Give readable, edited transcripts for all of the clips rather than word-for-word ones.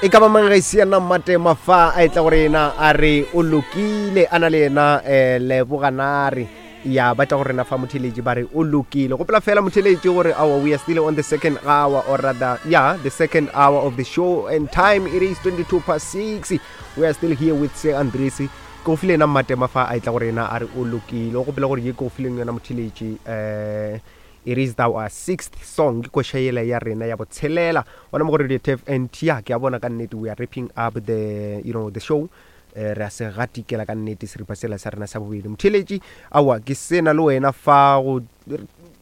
E ka ba mang ge se yena Mmatema fa a etla go rena a re o lokile a na le yena um leboganare ya ba tla go rena fa motheletši ba re o lokile gopola fela motheletši gore awa we are still on the second hour or rather yeah the second hour of the show and time it is 22 past 6. We are still here with Sir Andresi. Ke go file yena Mmatema fa a etla go rena a re o lokile o gopela gore ye ke go fileng yona motheletši um It is our sixth song, ke koša yela ya rena ya botshelela gona mo go Radio Turf. And ya ke a bona ka nnete we are wrapping up the you know the show. Eh, re a se gatikela ka nnete seripa sela sa rena sa bobedi. Motheeletši, aowa ke sena le wena fa go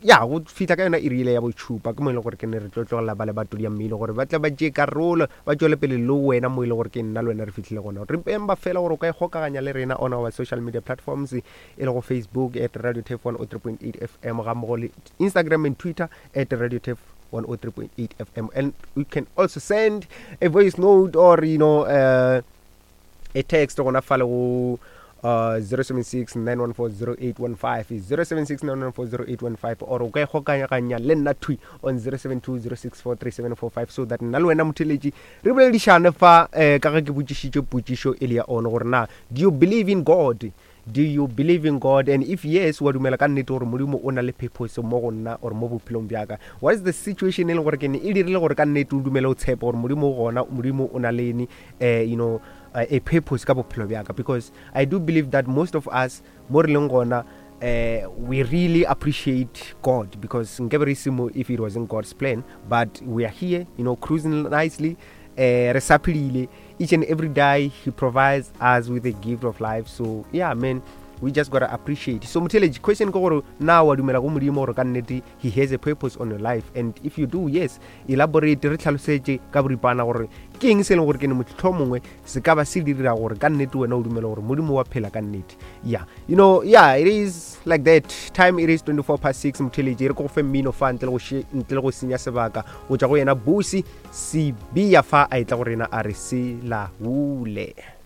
ya go fihla ka yona iri yela ya botšhupa, ke mo e leng gore ke ne re tlo tlogela ba le ba todi ya mmino gore ba tle ba tšee karolo ba tšwele pele le wena mo e leng gore ke nna le wena re fihlile gona. Remember fela gore o ka ikgokaganya le rena on our social media platforms e lego Facebook at Radio Turf 103.8 FM ga mmogo le Instagram and Twitter at Radio Turf 103.8 FM. And you can also send a voice note or you know a text gona fale go 076 914 0815, 076 914 0815, or o ka ikgokaganya le nna thwi on 072 064 3745 so that nna le wena motheletši re boledišane fa ka ge ke botšišitše potšišo e le ya one gore na do you believe in God? Do you believe in God? And if yes, wa dumela ka nnete gore Modimo o na le purpose mo go nna or mo bophelong bja ka? What is the situation e leng gore ke ne e dirile gore ka nnete o dumele o tshepe gore Modimo o gona, Modimo o na le ene, you know, a purpose ka bophelo bja ka? Because I do believe that most of us mo re leng gona, we really appreciate God, because nkabe re se mo if it wasn't God's plan, but we are here, you know, cruising nicely, re sa phedile. Each and every day he provides us with a gift of life. So yeah man, we just gotta appreciate. So motheletši, question ke gore na wa dumela go Modimo gore ka nnete he has a purpose on your life? And if you do, yes, elaborate, re tlhalosetše ka boripana gore ke eng se e leng gore ke ne motlho mongwe se ka ba se dira gore ka nnete wena o dumela gore Modimo wa phela ka nnete. Yeah, you know, yeah, it is like that. Time it is 24 past 6. Motheletši, re ko go fe mmino fa ntle le go senya sebaka go tšwa go yena Busi Sibiya fa a etla go rena a re se laule.